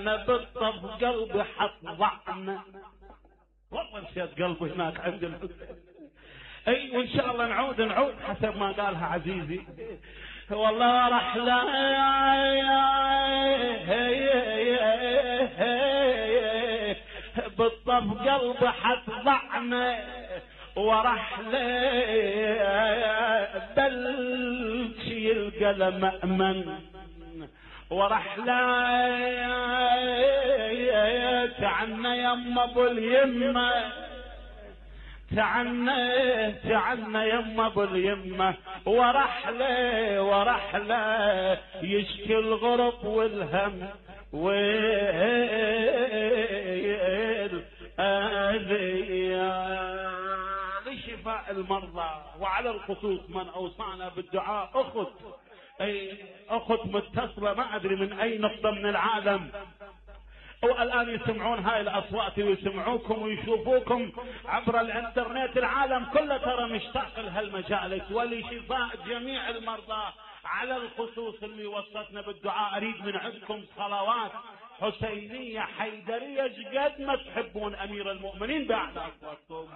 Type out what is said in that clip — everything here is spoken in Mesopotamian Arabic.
انا بالطف قلبي حط ضعنا، والله نسيت قلبي هناك عند الحسين. اي وان شاء الله نعود حسب ما قالها عزيزي. والله رحلة بالطف قلبي حط ضعنا ورحلة بلشي القلم أمن ورحلة تعنا يما ابو اليمة، تعنا يما ابو اليمة ورحلة يشكي الغرب والهم لشفاء المرضى وعلى الخصوص من اوصانا بالدعاء اخت متصلة ما ادري من اي نقطة من العالم، والان يسمعون هاي الاصوات ويسمعوكم ويشوفوكم عبر الانترنت. العالم كله ترى مشتاق لهالمجالس ولشفاء جميع المرضى على الخصوص اللي وصلتنا بالدعاء. اريد من عندكم صلوات حسينية حيدرية قد ما تحبون امير المؤمنين باعلى اصواتكم.